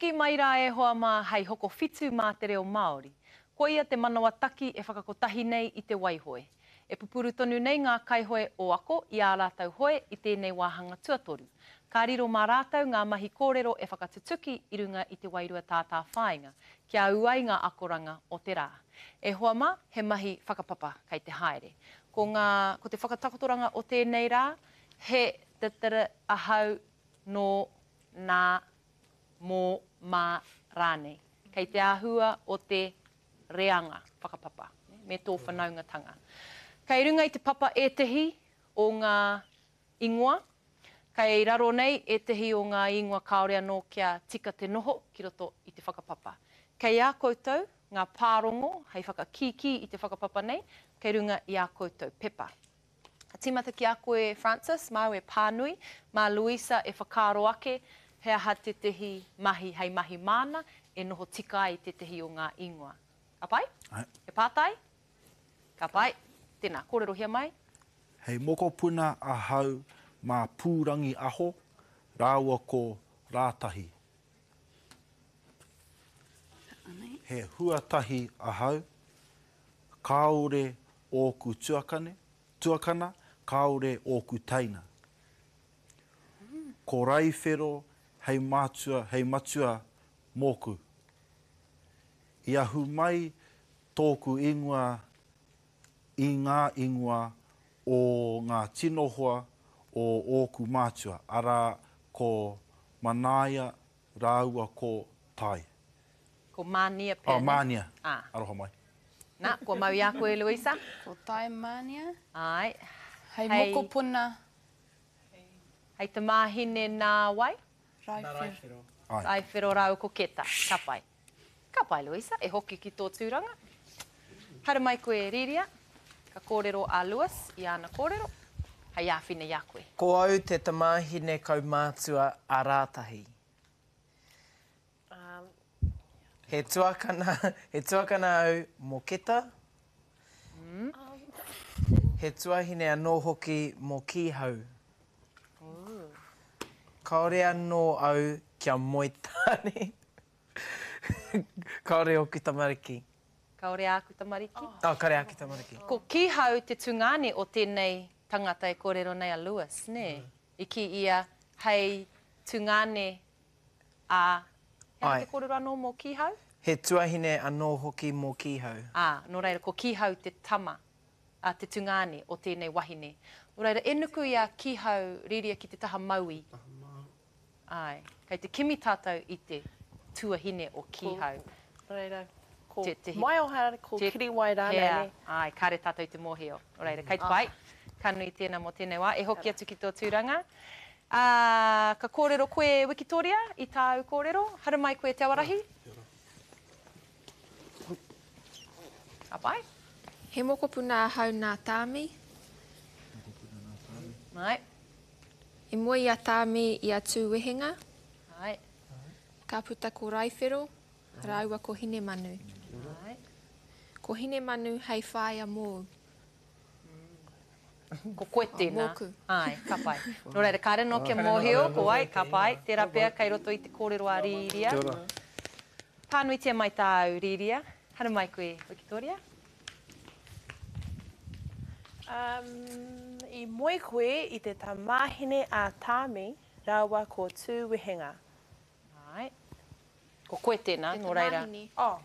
Hoki mai rā e hoa mā hei hokowhitu mā te reo Māori. Koia te manawa taki e whakakotahi nei i te waihoe. E pupuru tonu nei ngā kaihoe o Ako i ā rātou hoe i tēnei wāhanga tuatoru. Ka riro mā rātou ngā mahi kōrero e whakatutuki i runga i te wairua tātāwhāinga, kia ū ai ngā akoranga o te rā. E hoa mā, he mahi whakapapa kei te haere. Ko ngā, ko te whakatakotoranga o tēnei rā, he, t-t-r, ahau, nō, nā, mō, mā rānei. Kei te āhua o te reanga whakapapa me tō whanaungatanga. Kei runga i te papa ētehi o ngā ingoa, kei raro nei ētehi o ngā ingoa kāore anō kia tika te noho ki roto i te whakapapa. Kei a koutou ngā pārongo hei whakakīkī i te whakapapa nei, kei runga i ā koutou pepa. Ka tīmata ki a koe Francis, māu e pānui, mā Louisa e whakaaro ake he aha tētehi mahi hei mahi māna e noho tika ai tētehi o ngā ingoa. Ka pai? Āe. He pātai? Ka pai. Tēnā, kōrerohia mai. Hei mokopuna ahau mā Pūrangi Aho rāua ko Rātahi. He huatahi ahau, kāore ōku tuakane, tuakana, kāore ōku teina. Ko Raiwhero hei mātua, hei matua mōku. I ahu mai tōku ingoa i ngā ingoa o ngā tino hoa o ōku mātua, arā, ko Manaia rāua ko Tai. Ko Mānia pea, Oh, nē? Mānia. Ā. Aroha mai. Nā, kua mau i a koe, Louisa? Ko Tai Mānia. Āe. Hei mokopuna. Hei tamāhine nā wai? Nā Raiwhero. Āe. Raiwhero rāua ko Keta. Ka pai. Ka pai, Louisa, e hoki ki tō tūranga. Haere mai koe, Rīria. Ka kōrero a Lewis i āna kōrero, hei āwhina i a koe. Ko au te tamāhine kaumātua a Rātahi. He tuakana, he tuakana au mō Keta. He tuahine anō hoki mō Kīhau. Kāore anō au kia moe tāne. Kāore ōku tamariki. Kāore āku tamariki? Oh, kāore āku tamariki. Ko Kīhau te tungāne o tēnei tangata e kōrero nei a Lewis, nē? I kī ia hei tungāne a, he aha te kōrero anō mō Kīhau? He tuahine anō hoki mō Kīhau. Ā, nō reira, ko Kīhau te tama, a, te tungāne o tēnei wahine. Nō reira, e nuku i a Kīhau rīria ki te taha mauī. Āe, kei te kimi tātou i te tuahine o Kīhau. Nō reira, ko Maioha, ko Kiriwai rānei, nē? Āe, kāre tātou i te mōhio. Nō reira, kei te pai. Ka nui tēnā mō tēnei wā. E hoki atu ki tō tūranga. Ā, ka kōrero koe, Wikitoria, i tāu kōrero. Haramai koe, Te Awarahi. Ka pai. He mokopuna ahau nā Tāmi. Mokopuna nā Tāmi. Āe. I moe i a Tāmi i a Tūwehenga. Āe. Ka puta ko Raiwhero rāua ko Hinemanu. Āe. Ko Hinemanu hei whāia mōu. Ko koe tēnā. Mōku. Āe, ka pai. Nō reira, kāre anō kia mōhio ko wai, ka pai. Tērā pea kei roto i te kōrero a Rīria. Kia ora. Pānuitia mai tāu, Rīria. Haere mai koe, Wikitoria. Um, i moe koe i te tamāhine a Tāmi rāua ko Tūwehenga. Āe. Ko koe tēnā, Te nō reira. tamāhine. Oh.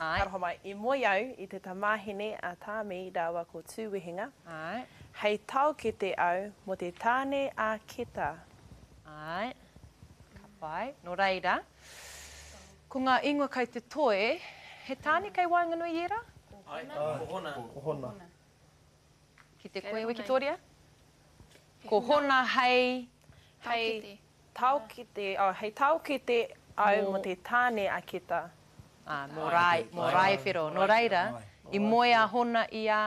Āe. Aroha mai. I moe au i te tamāhine a Tāmi rāua ko Tūwehenga. Āe. Hei taokete au mō te tāne a Keta. Āe. Ka pai. Nō reira, ko ngā ingoa kei te toe, he tāne kei waenganui i ērā? Āe, ko Hona. Ko Hona. Ki te koe, Wikitoria? Ko Hona hei. Hei taokete, oh, hei taokete au mō te tāne a Keta. Ā, mō Rae, mō Raewhero. Nō reira, i moe a Hona i a.